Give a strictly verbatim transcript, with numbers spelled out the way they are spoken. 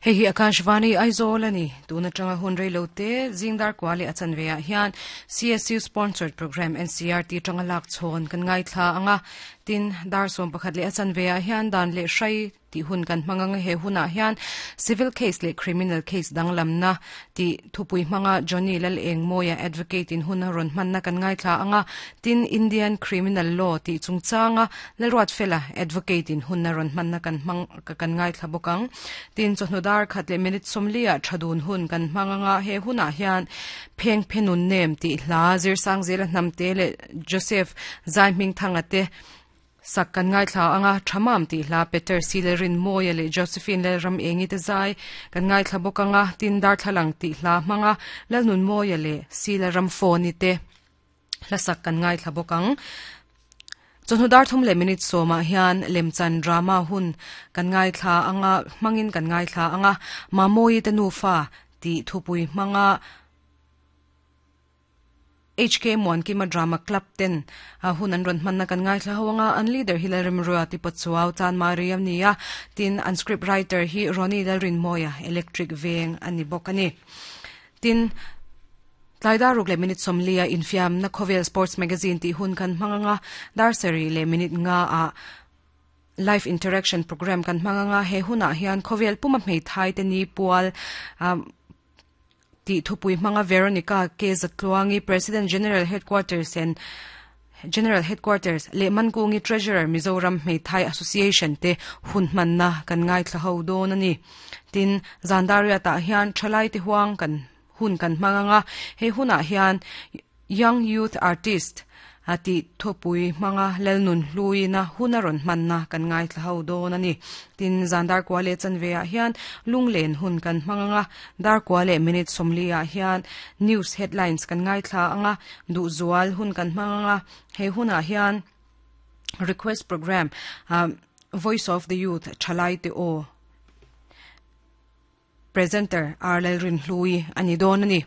Hei hi Akashvani Aizawl ani tuna tanga hun reilo te zingdar kwali achan veya hian C S U sponsored program N C R T tanga lak chon kan ngai thla anga. Tin dar som pakhat le achan veya hian dan le hrai ti hun kan hmanga. He huna hian civil case le criminal case danglam na ti thupui hmanga Johnny Lal Eng Moya, advocate in hun ron hman na kan ngai thla anga. Tin Indian criminal law ti chungchanga Lalruat Fela, advocate in hun ron hman na kan hmang kan ngai thla bokang. Tin chawhnu dar khat le minute somlia thadun hun kan hmanga. He huna hian pheng phenun nem ti hla zir sang zela hnam te le Joseph Zai Ming thanga te sak kan ngai thla anga. Thamam ti hla Peter Silerin Moya le Josephine le Ram Engi te zai kan ngai thla bokanga. Tin dar thalang ti hla manga Lalnun Moya le Sila Ram Foni te hla sak kan ngai thla bokang. Chawhnu dar thum le minute soma hian lemchan drama hun kan ngai thla anga, mangin kan ngai thla anga. Mamoi te nu fa ti thupui manga H K Mon Kima Drama Club ten a hun an ron manna kan ngai thla hawanga. An leader Hilary Mrua ti Pachuau Chan Mariam nia. Tin an script writer hi Ronnie Dalrin Moya, Electric Veng ani bok ani. Tin tlaidar ruk le minute somlia infiam na Khovel Sports Magazine ti hun kan hmanga. Dar seri le minute nga a live interaction program kan hmanga. He huna hian Khovel puma hmei thai te ni pual um, ti thupui hmanga Veronica K Zatluangi, President, General Headquarters and General Headquarters le Mankungi, Treasurer, Mizoram Hmeithai Association te hun manna kan ngai thla ho don ani. Tin zandaria ta hian thalai te huang kan hun kan hmanga. He huna hian Young Youth Artist ati thopui manga Lelnun hluina hunaron manna kan ngai thla ho don ani. Tin zandar kwale chanve a hian lunglen hun kan hmanga. Dar kwale minute somli a hian news headlines kan ngai thla anga. Du zual hun kan hmanga. He huna hian request program um, Voice of the Youth, Thalai te o, presenter Arlel Rin Hlui ani don ani.